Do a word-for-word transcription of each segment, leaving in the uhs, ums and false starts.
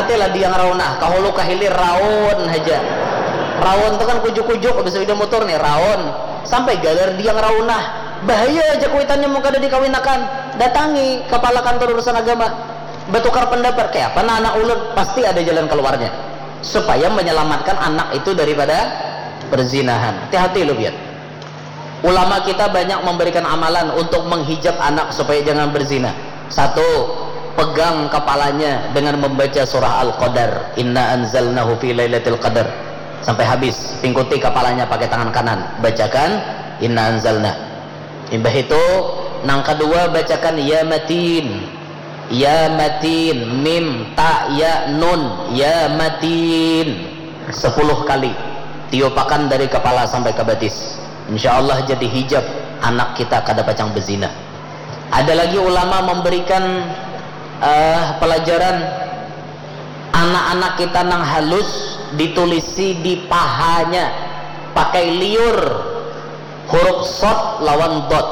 Nanti lah diang raunah, kahulu kahilir raun haja. Raun tu kan kujuk-kujuk, habis sepeda motor nih, raun. Sampai galar diang raunah. Bahaya aja kuitannya mun kada dikawinakan. Datangi kepala kantor urusan agama. Bertukar pendapat, kayak apa nah anak ulun? Pasti ada jalan keluarnya. Supaya menyelamatkan anak itu daripada perzinahan. Hati-hati lu, biar. Ulama kita banyak memberikan amalan untuk menghijab anak supaya jangan berzina. Satu, pegang kepalanya dengan membaca surah Al-Qadar. Inna anzalnahu fi lailatul qadar. Sampai habis, pingkuti kepalanya pakai tangan kanan. Bacakan, Inna anzalna. Imbah itu, nang kedua, bacakan Ya Matin. Ya Matin, mim, ta, ya, nun. Ya Matin. Sepuluh kali. Tiupakan dari kepala sampai ke batis. Insya Allah jadi hijab anak kita kada pacang bezina. Ada lagi ulama memberikan uh, pelajaran, anak-anak kita nang halus ditulisi di pahanya pakai liur huruf sod lawan dot.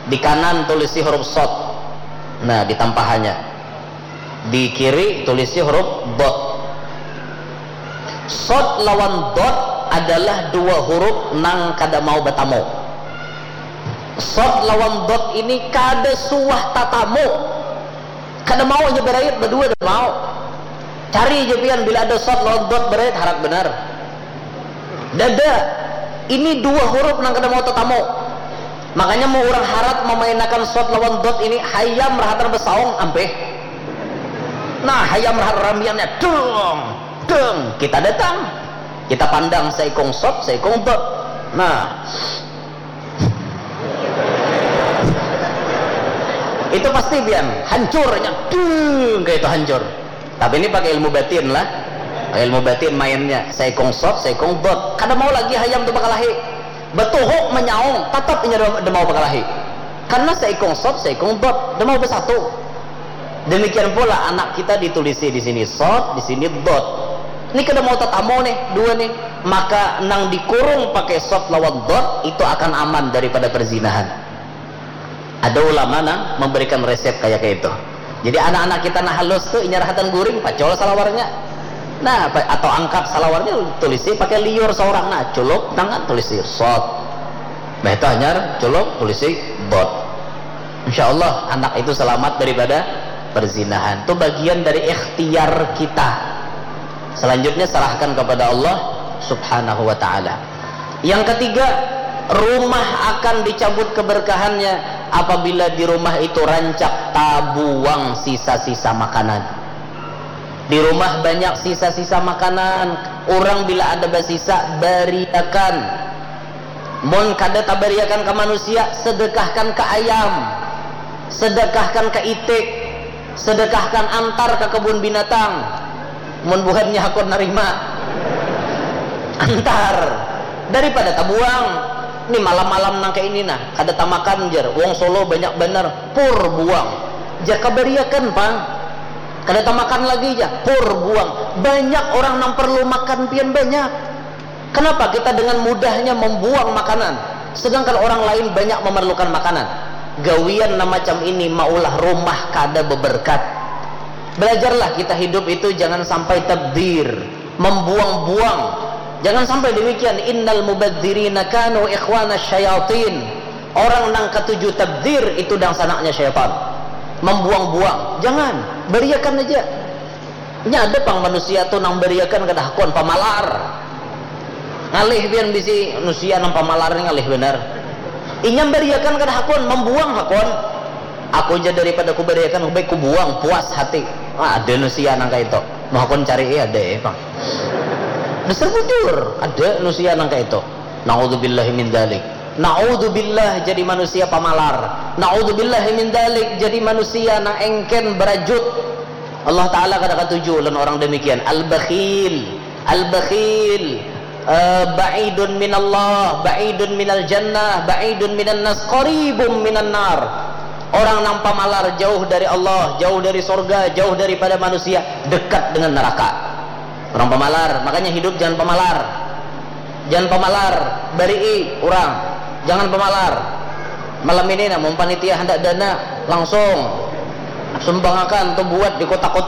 Di kanan tulisi huruf sod. Nah, di tampahanya. Di kiri tulisi huruf dot. Sod lawan dot adalah dua huruf nang kada mau batamu. Sod lawan dot ini kada suah tatamu. Kada mau aja berait berdua, kada mau. Cari aja pian bila ada sod lawan dot berait, harat benar. Dada, ini dua huruf nang kada mau tatamu. Makanya mau orang harat memainakan sod lawan dot ini, hayam rahatan besaung, ampeh. Nah, hayam rahat ramiannya, deng, deng, kita datang. Kita pandang seikung sod, seikung dot. Nah, itu pasti pian hancurnya, deng, kayak itu hancur. Tapi ini pakai ilmu batin lah. Pakai ilmu batin mainnya. Seikung sod, seikung dot. Kada mau lagi hayam tu bakalahi. Batuhuk menyaung, tatap inya da mau bakalahi. Karena seikung sod, seikung dot, da mau bersatu. Demikian pula anak kita ditulisi di sini sod, di sini dot. Ini kada mau tatamu nih, dua nih. Maka nang dikurung pakai sod lawan dot itu akan aman daripada perzinahan. Ada ulama nang memberikan resep kayak kayak itu. Jadi anak-anak kita nah halus tuh inya rahatan guring, pacol salawarnya. Nah, atau angkat salawarnya, tulisi pakai liur seorang, nah, culuk tangan, tulisi sod. Nah, itu hanyar culuk, tulisi dot. Insya Allah anak itu selamat daripada perzinahan. Itu bagian dari ikhtiar kita. Selanjutnya serahkan kepada Allah Subhanahu wa Ta'ala. Yang ketiga, rumah akan dicabut keberkahannya apabila di rumah itu rancak tabuang sisa-sisa makanan. Di rumah banyak sisa-sisa makanan. Orang bila ada basisa, bariakan. Mun kada tabariakan ke manusia, sedekahkan ke ayam, sedekahkan ke itik, sedekahkan antar ke kebun binatang. Mun buhannya hakun narima, antar. Daripada tabuang. Ni malam-malam nang kayak ini nah, kada tamakan jer. Wong Solo banyak banar, pur buang. Jaka bariakan pang. Kada tamakan lagi ja, pur buang. Banyak orang nang perlu makan pian banyak. Kenapa kita dengan mudahnya membuang makanan, sedangkan orang lain banyak memerlukan makanan? Gawian nang macam ini maulah rumah kada beberkat. Belajarlah kita hidup itu jangan sampai tabdir, membuang-buang. Jangan sampai demikian. Innal mubadzirina kanu ikhwana syayatin. Orang nang katuju tabdir itu dangsanaknya syaitan. Membuang-buang. Jangan. Beriakan aja. Nya ada pang manusia tu nang bariakan kada hakun, pamalar. Ngalih pian bisi manusia nang pamalar ni, ngalih banar. Inya bariakan kada hakun, mambuang hakun. Aku ja daripada ku bariakan, baik ku buang, puas hati. Ah, ada manusia nang kaya itu. Mau hakun cari, eh, ada eh pang. Dasar bujur, ada manusia nang kaya itu. Naudzubillahi min dzalik. Naudzubillah jadi manusia pamalar. Naudzubillahi min dzalik jadi manusia nang engken barajut. Allah Ta'ala kada katuju lawan orang demikian. Al-bakhil. Al-bakhil. Eh, ba'idun minallah, ba'idun minal jannah, ba'idun minan nas, qaribun minan nar. Orang nang pamalar jauh dari Allah, jauh dari sorga, jauh daripada manusia, dekat dengan neraka. Orang pamalar, makanya hidup jangan pamalar. Jangan pamalar, barii urang. Jangan pamalar. Malam ini nah, mun panitia handak dana, langsung sumbangakan tu buat di kotak-kotak.